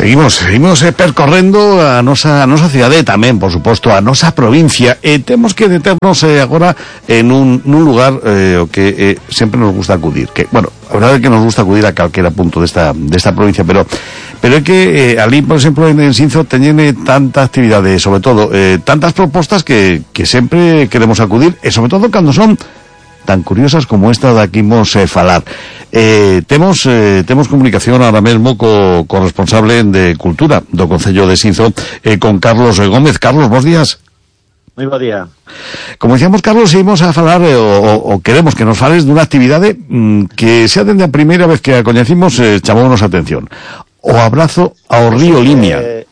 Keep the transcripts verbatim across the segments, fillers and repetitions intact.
Seguimos, seguimos eh, percorrendo a nosa, a nosa cidade e tamén, por suposto, a nosa provincia, e temos que deternos eh, agora en un, nun lugar eh, o que eh, sempre nos gusta acudir, que, bueno, a verdade é que nos gusta acudir a calquera punto desta, desta provincia, pero pero é que eh, ali, por exemplo, en Sinzo teñen eh, tanta actividade, sobre todo, eh, tantas propostas que, que sempre queremos acudir, e sobre todo cando son tan curiosas como esta da que imos eh, falar. Eh, temos eh, temos comunicación ahora mesmo co, co responsable de Cultura do Concello de Sinzo, eh, con Carlos Gómez. Carlos, bons días. Moi bo día. Como decíamos, Carlos, íbamos a falar eh, o, o queremos que nos fales dunha actividade mm, que xa dende a primeira vez que a coñecimos eh, chamounos a atención. O abrazo ao río Limia. Eh,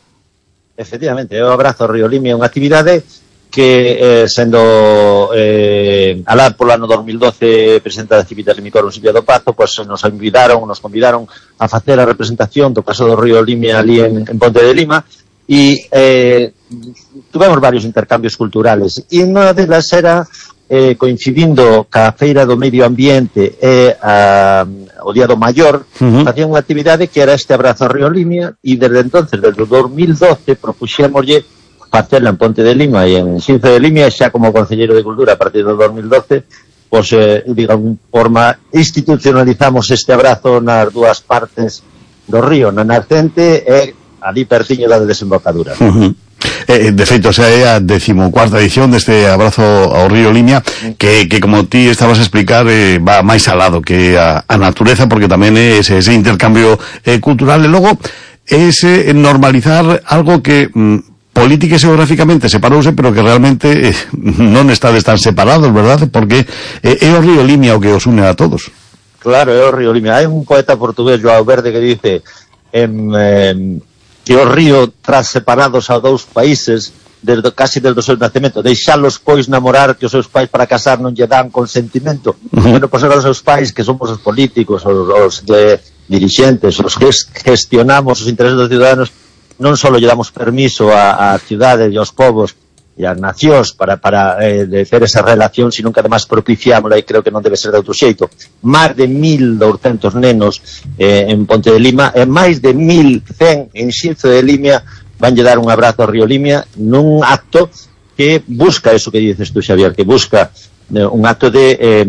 efectivamente, o abrazo ao río Limia é unha actividade que eh, sendo eh, alá polo ano dos mil doce presidenta da Civita Limicoro Silvia do Pazo, pues nos invitaron, nos convidaron a facer a representación do paso do río Limia ali en, en Ponte de Lima, e eh, tuvemos varios intercambios culturales, e unha delas era eh, coincidindo ca Feira do Medio Ambiente e a, o Día do Maior, uh-huh. facían unha actividade que era este abrazo ao río Limia, e desde entonces, desde o dos mil doce, propuxémoslle facela en Ponte de Lima e en Sinzo de Limia, xa como concelleiro de Cultura a partir do dos mil doce, pois, eh, digamos, forma, institucionalizamos este abrazo nas dúas partes do río, na nascente e ali pertiño da desembocadura. Uh-huh. Eh, de feito, xa é a decimocuarta edición deste abrazo ao río Limia, que, que como ti estabas a explicar, eh, va máis alado que a, a natureza, porque tamén é ese, ese intercambio eh, cultural, e logo ese normalizar algo que mm, política e xeográficamente separouse, pero que realmente eh, non estades tan separados, verdad? Porque eh, é o río Limia o que os une a todos. Claro, é o río Limia. Hai un poeta portugués, João Verde, que dice em, em, que o río tras separados a dous países desde, casi desde o seu nacemento, deixalos pois namorar, que os seus pais para casar non lle dan consentimento. Uh-huh. Bueno, pois agora os seus pais, que somos os políticos, os, os de, dirixentes, os que gestionamos os intereses dos ciudadanos, non só lle damos permiso a, a cidades e aos povos e as nacións para, para eh, de ter esa relación, sino que además propiciámola, e creo que non debe ser de outro xeito. Máis de mil douscentos nenos eh, en Ponte de Lima e máis de mil cen en Sinzo de Limia vanlle dar un abrazo ao río Limia nun acto que busca eso que dices tú, Xavier, que busca eh, un acto de eh,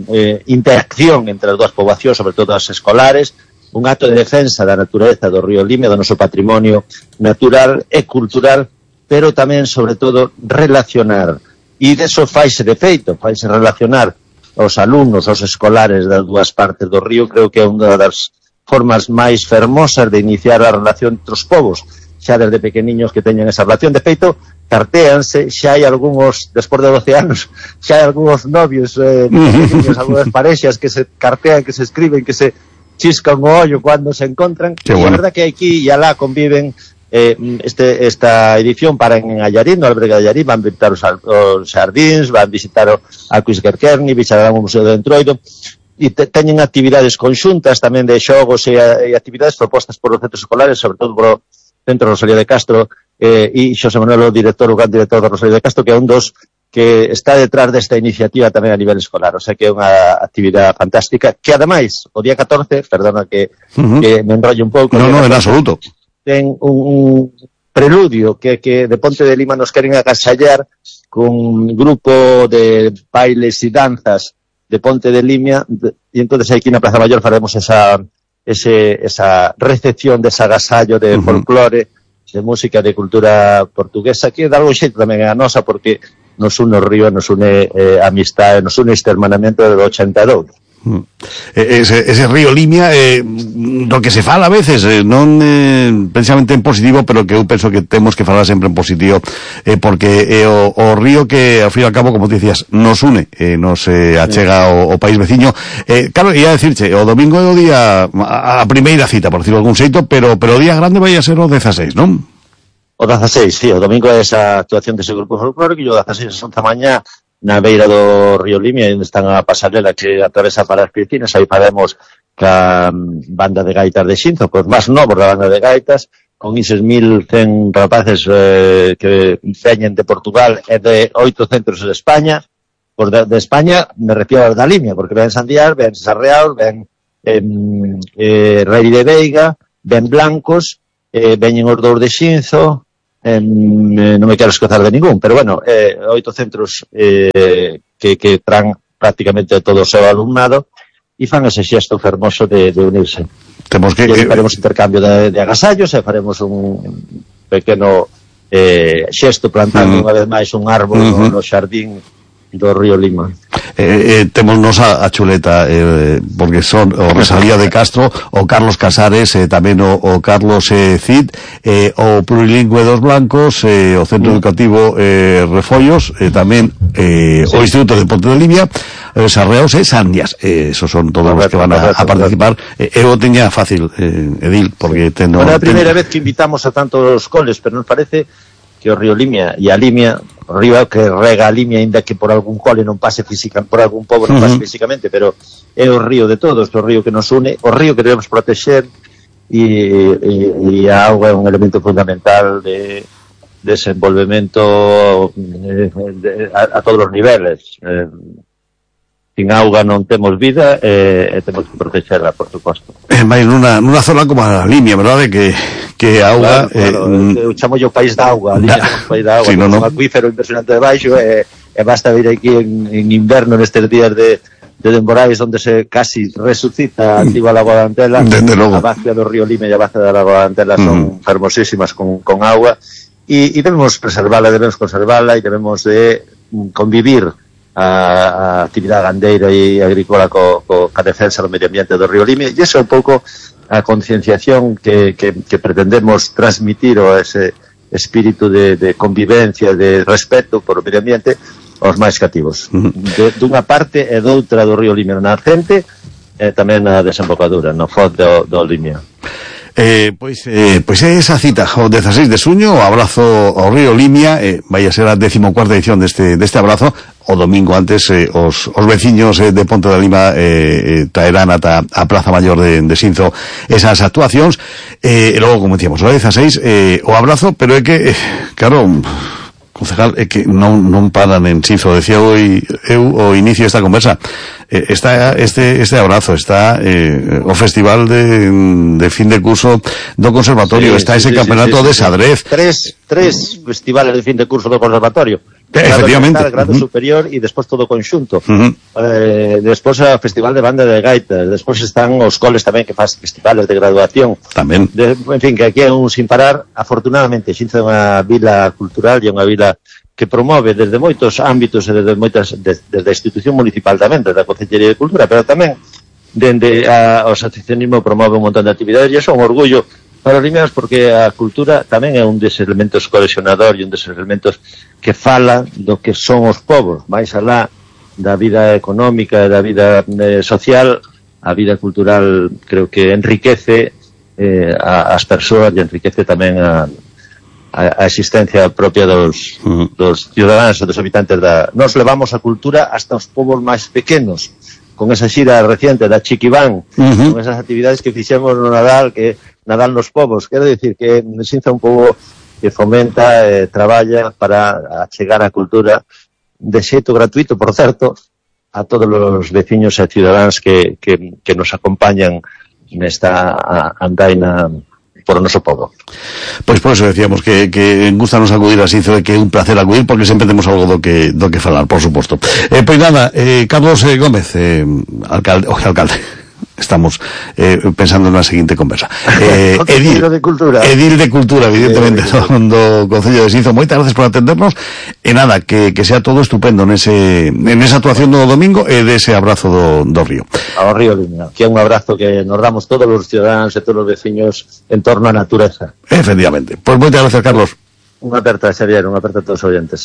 eh, interacción entre as dúas poboacións, sobre todo as escolares, un acto de defensa da natureza do río Limia, do noso patrimonio natural e cultural, pero tamén, sobre todo, relacionar. E deso faise de feito, faise relacionar os alumnos, os escolares das dúas partes do río. Creo que é unha das formas máis fermosas de iniciar a relación entre os povos, xa desde pequeniños que teñen esa relación. De feito, cartéanse, xa hai algúns, despois de doce anos, xa hai algúns novios, eh, pequeniños, algúnas parexas que se cartean, que se escriben, que se chiscan o ollo cando se encontran. Qué e bueno. A verdad que aquí e alá conviven eh, este, esta edición para en Allarín, no albergue de Allarín, van visitar os, os xardíns, van visitar o Aquisquerquerni, visitarán o Museo do Entroido, e te, teñen actividades conxuntas tamén de xogos e, e actividades propostas por os centros escolares, sobre todo por o Centro Rosalía de Castro, eh, e Xosé Manuel, o director, o gran director do Rosalía de Castro, que é un dos que está detrás desta iniciativa tamén a nivel escolar. O sea que é unha actividade fantástica, que ademais, o día catorce, perdona que, uh-huh. que me enrollo un pouco. No, no, en absoluto. Ten un, un preludio que, que de Ponte de Lima nos queren agasallar con un grupo de bailes e danzas de Ponte de Lima, e entonces aquí na Plaza Mayor faremos esa, ese, esa recepción de ese agasallo de uh-huh. folclore, de música, de cultura portuguesa, que dá algo xeito tamén a nosa, porque nos une o río, nos une eh, amistade, nos une este hermanamento do ochenta e dous. Mm. Ese, ese río Limia, eh, do que se fala a veces, eh, non eh, precisamente en positivo, pero que eu penso que temos que falar sempre en positivo, eh, porque é eh, o, o río que, ao fin e ao cabo, como te dicías, nos une, eh, nos eh, achega o, o país veciño. Eh, claro, ia decirche, o domingo é o día, a, a primeira cita, por decirlo algún xeito, pero, pero o día grande vai a ser o dezaseis, non? O dezaseis, sí, o domingo é esa actuación dese grupo folclórico, e o dezaseis ás once da mañá na beira do río Limia, onde están a pasarela que atravesa para as piscinas. Aí faremos ca banda de gaitas de Xinzo, pois máis novos da banda de gaitas, con eses mil cen rapaces eh, que veñen de Portugal e de oito centros de España. Pois de, de España me refiero a da Limia, porque ven Sandiar, ven Sarreal, ven eh, eh, Rei de Veiga, ven Blancos, eh, veñen os dous de Xinzo, eh, non me quero escozar de ningún, pero bueno, eh, oito centros eh, que, que traen prácticamente todo o seu alumnado e fan ese xesto fermoso de, de unirse. Temos que, e faremos intercambio de, de agasallos e faremos un pequeno eh, xesto plantando uh -huh. unha vez máis un árbol uh -huh. no, no xardín do río Lima. Eh, eh, temos nos a, a chuleta eh, porque son o Rosalía de Castro, o Carlos Casares, eh, tamén o, o Carlos eh, Cid, eh, o Plurilingüe dos Blancos, eh, o Centro mm. Educativo eh, Refollos, eh, tamén eh, sí. o Instituto de Ponte de Limia, eh, Sarreaos e Sandias, eh, esos son todos correcto, os que van a, correcto, a participar. Eh, eu teña fácil, eh, Edil, porque sí. teno... Bueno, é a primeira ten... vez que invitamos a tantos coles, pero nos parece que o río Limia e a Limia, o río que rega a Limia, ainda que por algún cole non pase física, por algún pobo non pase uh -huh. físicamente, pero é o río de todos, o río que nos une, o río que debemos proteger, e, e, e a auga é un elemento fundamental de desenvolvemento de, de, a, a todos os niveles. Eh, sin auga non temos vida e eh, temos que protegerla, por suposto. É máis nunha, nunha zona como a Limia, verdade? Que, que a auga... Claro, claro. Eh, eu chamo yo país da auga, a Limia é un país da auga, sí, no, no. Un acuífero impresionante de baixo e, e basta vir aquí en, en inverno nestes días de, de temporais onde se casi resucita activa a Lagoa da Antela. A vacía do río Limia e a vacía da Lagoa da Antela son mm. fermosísimas con, con auga e, e debemos preservala, debemos conservala e debemos de convivir a, a actividade gandeira e agrícola co, co, ca defensa do medio ambiente do río Limia, e iso é un pouco a concienciación que, que, que pretendemos transmitir o ese espírito de, de convivencia, de respeto por o medio ambiente aos máis cativos. De, dunha parte e doutra do río Limia na nascente e tamén na desembocadura, no foz do, do Limia. Eh, pois, eh, pois é esa cita o dezaseis de xuño, o abrazo ao río Limia, eh, vai a ser a decimocuarta edición deste, deste abrazo. O domingo antes eh, os, os veciños eh, de Ponte da Lima eh, eh, traerán ata a Plaza Maior de, de Xinzo esas actuacións, eh, e logo, como decíamos, o dezaseis eh, o abrazo, pero é que, eh, claro, concejal, é que non, non paran en Xinzo. Decía eu, eu o inicio desta conversa, eh, está este, este abrazo, está eh, o festival de, de fin de curso do conservatorio, sí, está ese sí, campeonato sí, sí, de xadrez, tres, tres festivales de fin de curso do conservatorio, efectivamente, grado, grado uh -huh. superior e despois todo o conxunto. Uh -huh. eh, despois o festival de banda de gaitas, despois están os coles tamén que faz festivales de graduación tamén. De, en fin, que aquí é un sin parar. Afortunadamente Xinzo é unha vila cultural e unha vila que promove desde moitos ámbitos e desde moitas desde, desde a institución municipal tamén, desde a Concellería de Cultura, pero tamén dende a, o asociacionismo promove un montón de actividades, e iso é un orgullo para os limianos, porque a cultura tamén é un dos elementos cohesionador e un dos elementos que fala do que son os povos, máis alá da vida económica, da vida eh, social. A vida cultural creo que enriquece eh, a, as persoas e enriquece tamén a, a, a existencia propia dos, uh -huh. dos ciudadanos e dos habitantes da... Nos levamos a cultura hasta os povos máis pequenos, con esa xira reciente da Chiquibán, uh -huh. con esas actividades que fixemos no Nadal, que Nadal nos povos. Quero dicir que Xinzo é un pobo que fomenta e eh, traballa para chegar a cultura de xeito gratuito, por certo, a todos os veciños e cidadáns que, que, que nos acompañan nesta andaina por o noso pobo. Pois por eso decíamos que, que gustanos acudir a Xinzo e que é un placer acudir, porque sempre temos algo do que, do que falar, por suposto. Eh, pois nada, eh, Carlos eh, Gómez, eh, alcalde, oje, alcalde, estamos eh, pensando na seguinte conversa. Eh, Edil de Cultura. Edil de Cultura, evidentemente, eh, do, do Concello de Xinzo. Moitas gracias por atendernos. E nada, que, que sea todo estupendo nese, en esa actuación do domingo e dese abrazo do, do río. Ao río Limia. Que é un abrazo que nos damos todos os ciudadanos e todos os veciños en torno á natureza. Efectivamente. Pois pues moitas gracias, Carlos. Unha aperta, Xavier, unha aperta a todos os oyentes.